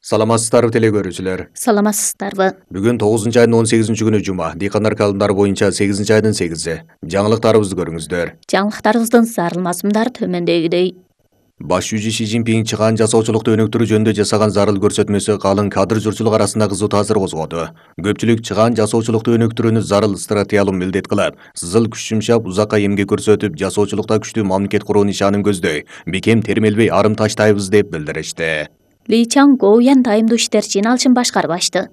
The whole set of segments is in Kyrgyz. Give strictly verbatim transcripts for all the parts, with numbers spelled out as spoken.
Саламатсыздарбы теле көрүүчүлөр. Саламатсыздарбы. Бүгүн тогузунчу айдын он сегизинчи күнү жума. Дыйкандар календары боюнча сегизинчи айдын сегизи. Жаңылыктарыбызды көрүңүздөр. Жаңылыктарыбыздын зарыл мазмундары төмөндөгүдөй. Баш жүзү Си Цзиньпин чыгаан жасоочулукту өнүктүрүү жөнүндө жасаган зарыл көрсөтмөсү калың кадр журтчулук арасында кызуу таасир козгоду. Көпчүлүк чыгаан жасоочулукту өнүктүрүүнү зарыл стратегиялык милдет кылып, сызыл күч жумшап, узакка эмгек көрсөтүп, жасоочулукта күчтүү мамлекет куруу нишанын көздөй, бекем термелбей арым таштайбыз деп билдиришти. Ли Чан Гоуян дайымдуу иштер жыйналышын башкарып ачты.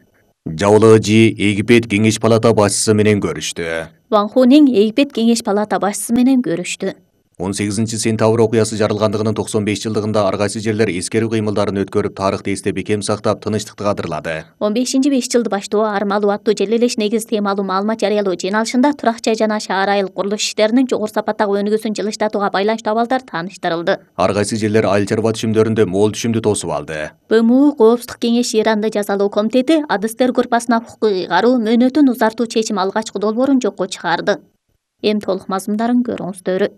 Жабылыгы Жи Египет Кеңеш палата башчысы менен көрүштү. Ван Хунин Египет Кеңеш палата башчысы менен көрүштү. он сегизинчи сентябрь окуясы жарылгандыгынын токсон беш жылдыгында ар кайсы жерлер эскерүү кыймылдарын өткөрүп, тарыхты эсте бекем сактап, тынычтыкты кадырлады. он бешинчи беш жылды баштоо армалуу аттуу желелеш негиз темалуу маалымат жарыялоо жыйналышында турак жай жана шаар айыл курулуш иштеринин жогору сапаттагы өнүгүүсүн жылыштатууга байланыштуу абалдар тааныштырылды. Ар кайсы жерлер айыл чарба түшүмдөрүндө мол түшүмдү тосуп алды. Б М У Коопсуздук кеңеши Иранды жазалоо комитети адыстер группасына укук ыйгаруу мөөнөтүн узартуу чечим алгачкы долбоорун жокко чыгарды. Эми толук мазмундарын көрүңүздөр.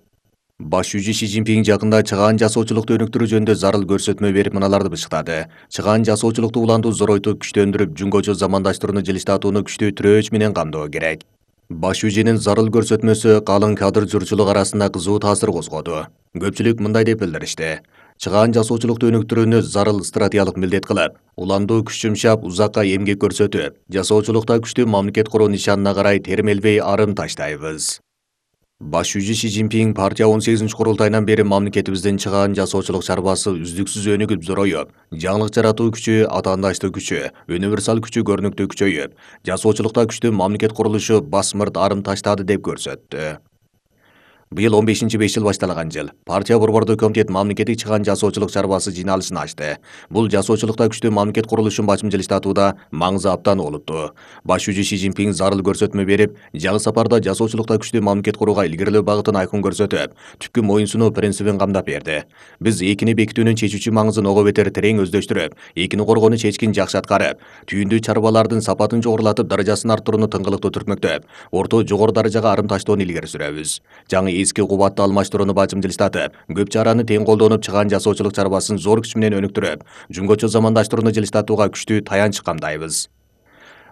Баш жүзү Си Цзиньпин жакында чыгаан жасоочулукту өнүктүрүү жөнүндө зарыл көрсөтмө берип мыналарды бышыктады. Чыгаан жасоочулукту улантуу зоройтуп, күчтөндүрүп, жүнгөчө замандаштырууну жылыштатууну күчтүү тирөөч менен камдоо керек. Баш жүзүнүн зарыл көрсөтмөсү калың кадр журтчулук арасында кызуу таасир козгоду. Көпчүлүк мындай деп билдиришти. Чыгаан жасоочулукту өнүктүрүүнү зарыл стратегиялык милдет кылып, уландуу күч жумшап, узакка эмгек көрсөтүп, жасоочулукта күчтүү мамлекет куруу нишанына карай термелбей арым таштайбыз. Баш жүзү Си Цзиньпин партия он сегизинчи курултайынан бери мамлекетибиздин чыгаан жасоочулук чарбасы үздүксүз өнүгүп зороюп, жаңылык жаратуу күчү, атаандаштык күчү, универсал күчү көрүнүктүү күчөйүп, жасоочулукта күчтүү мамлекет курулушу басмырт арым таштады деп көрсөттү. Быйыл он бешинчи беш жыл башталган жыл. Партия борбордуу комитет мамлекеттик чыгаан жасоочулук чарбасы жыйналышын ачты. Бул жасоочулукта күчтүү мамлекет курулушун бачым жылыштатууда маңызы абдан олуттуу. Баш жүзү Си Цзиньпин зарыл көрсөтмө берип, жаңы сапарда жасоочулукта күчтүү мамлекет курууга илгерилөө багытын айкын көрсөтүп, түпкү моюнсунуу принцибин камдап берди. Биз экини бекитүүнүн чечүүчү маңызын ого бетер терең өздөштүрүп, экини коргоону чечкин жакшы аткарып, түйүндүү чарбалардын сапатын жогорулатып, даражасын арттырууну тыңгылыктуу түртмөктөп, орто жогору даражага арым таштоону илгери сүрөбүз. Жаңы эски кубатты алмаштырууну бачым жылыштатып, көп чараны тең колдонуп, чыгаан жасоочулук чарбасын зор күч менен өнүктүрүп, жүнгөчө замандаштырууну жылыштатууга күчтүү таянч камдайбыз.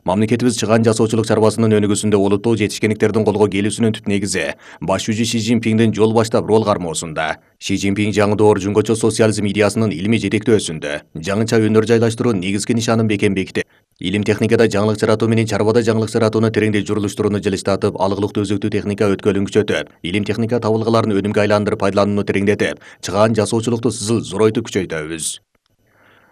Мамлекетибиз чыгаан жасоочулук чарбасынын өнүгүүсүндө олуттуу жетишкендиктердин колго келүүсүнүн түп негизи баш жүзү Си Цзиньпиндин жол баштап рол кармоосунда. Си Цзиньпин жаңы доор жүнгөчө социализм идеясынын илимий жетектөөсүндө, жаңыча өнөр жайлаштыруу негизги нишанын бекем бекитип, илим техникада жаңылык жаратуу менен чарбада жаңылык жаратууну тереңдей журулуштурууну жылыштатып, алгылыктуу өзөктүү техника өткөлүн күчөтүп, илим техника табылгаларын өнүмгө айландырып пайдаланууну тереңдетип, чыгаан жасоочулукту сызыл зоройтуп күчөйтөбүз.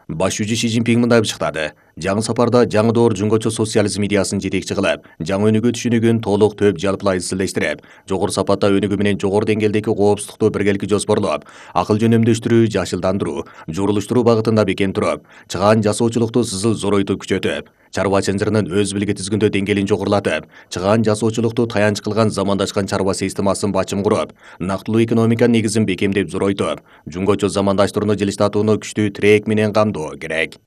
Баш жүзү Си Цзиньпин мындай бышыктады. Жаңы сапарда жаңы доор жүнгөчө социализм идеясын жетекчи кылып, жаңы өнүгүү түшүнүгүн толук төп жалпылай изилдештирип, жогору сапатта өнүгүү менен жогору деңгээлдеги коопсуздукту биргеликти жоспорлоп, акыл жөнөмдөштүрүү, жашылдандыруу, журулуштуруу багытында бекем туруп, чыгаан жасоочулукту сызыл зоройтуп күчөтүп, чарба чынжырынын өз билги тизгиндөө деңгээлин жогорулатып, чыгаан жасоочулукту таянч кылган замандашкан чарба системасын бачым куруп, нактылуу экономика негизин бекемдеп зоройтуп, жүнгөчө замандаштырууну жылыштатууну күчтүү тирек менен камдоо керек.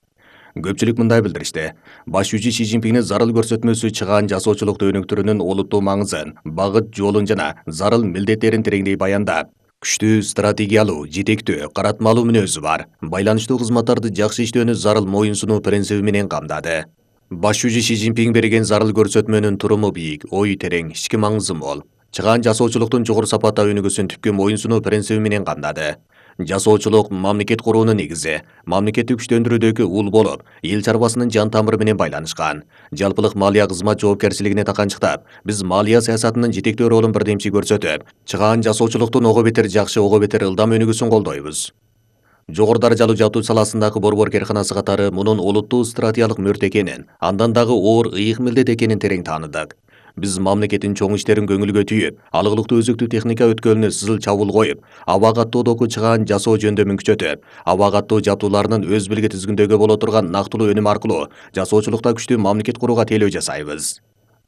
Көпчүлүк мындай билдиришти. Баш жүзү Си Цзиньпиндин зарыл көрсөтмөсү чыгаан жасоочулукту өнүктүрүүнүн олуттуу маңызын, багыт жолун жана зарыл милдеттерин тереңдей баяндап, күчтүү стратегиялуу, жетектөө, каратмалуу мүнөзү бар, байланыштуу кызматтарды жакшы иштөөнү зарыл моюнсунуу принциби менен камдады. Баш жүзү Си Цзиньпин берген зарыл көрсөтмөнүн туруму бийик, ою терең, ички маңызы мол. Чыгаан жасоочулуктун жогору сапатта өнүгүүсүн түпкү моюнсунуу принциби менен камдады. Жасоочулук мамлекет куруунун негизи, мамлекетти күчтөндүрүүдөгү ул болуп, эл чарбасынын жан тамыры менен байланышкан. Жалпылык малия кызмат жоопкерчилигине таканчыктап, биз малия саясатынын жетектөө ролун бирдемчи көрсөтүп, чыгаан жасоочулуктун ого бетер жакшы, ого бетер ылдам өнүгүүсүн колдойбуз. Жогору даражалуу жабдуу саласындагы борбор керканасы катары мунун олуттуу стратегиялык мөрт экенин, андан дагы оор ыйык милдет экенин терең тааныдык. Биз мамлекеттин чоң иштерин көңүлгө түйүп, алгылыктуу өзөктүү техника өткөлүнө сызыл чабуул коюп, аба каттоодогу чыгаан жасоо жөндөмүн күчөтүп, аба каттоо жабдууларынын өз билги тизгиндөгү боло турган нактылуу өнүм аркылуу жасоочулукта күчтүү мамлекет курууга тейлөө жасайбыз.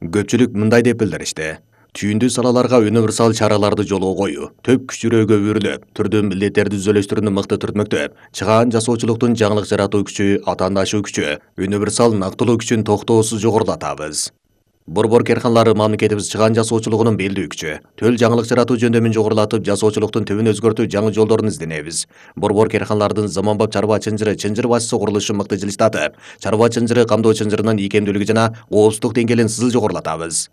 Көпчүлүк мындай деп билдиришти. Түйүндүү салаларга универсал чараларды жолго коюу, төп күч жүрөөгө өрүлүп, түрдүү милдеттерди түзөлүштүрүүнү мыкты түртмөктөп, чыгаан жасоочулуктун жаңылык жаратуу күчү, атаандашуу күчү, универсал нактылуу күчүн токтоосуз жогорулатабыз. Борбор керканалары мамлекетибиз чыгаан жасоочулугунун белдүү күчү. Төл жаңылык жаратуу жөндөмүн жогорулатып, жасоочулуктун түбүн өзгөртүү жаңы жолдорун изденебиз. Борбор керканалардын заманбап чарба чынжыры, чынжыр башчысы курулушу мыкты жылыштатып, чарба чынжыры камдоо чынжырынын ийкемдүүлүгү жана коопсуздук деңгээлин сызыл жогорулатабыз.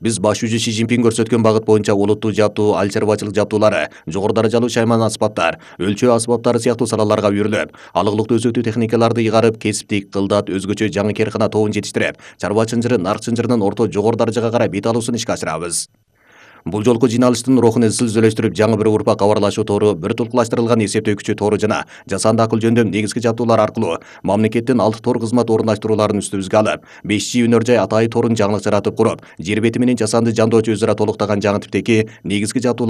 Биз баш жүзү Си Цзиньпин көрсөткөн багыт боюнча олуттуу жаптуу, ал чарбачылык жаптуулары, жогору даражалуу шайман аспаптар, өлчөө аспаптары сыяктуу салаларга үйрүлүп, алыглыктуу өзөктүү техникаларды ыйгарып, кесиптик, кылдат, өзгөчө жаңы керкана тобун жетиштирип, чарба чынжыры, нарк чынжырынын орто жогору даражага карай бет алуусун ишке ашырабыз. Бул жолку жыйналыштын рухун изчил үзөлөштүрүп, жаңы бир урпак кабарлашуу тору, бир туткулаштырылган эсептөө күчү тору жана жасанды акыл жөндөм негизги жаптуулар аркылуу мамлекеттин алты тор кызмат орундаштырууларын үстүбүзгө алып, беш жи өнөр жай атайы торун жаңылык жаратып куруп, жер бети менен жасанды жандоочу өзара толуктаган жаңы типтеги негизги жаптуулар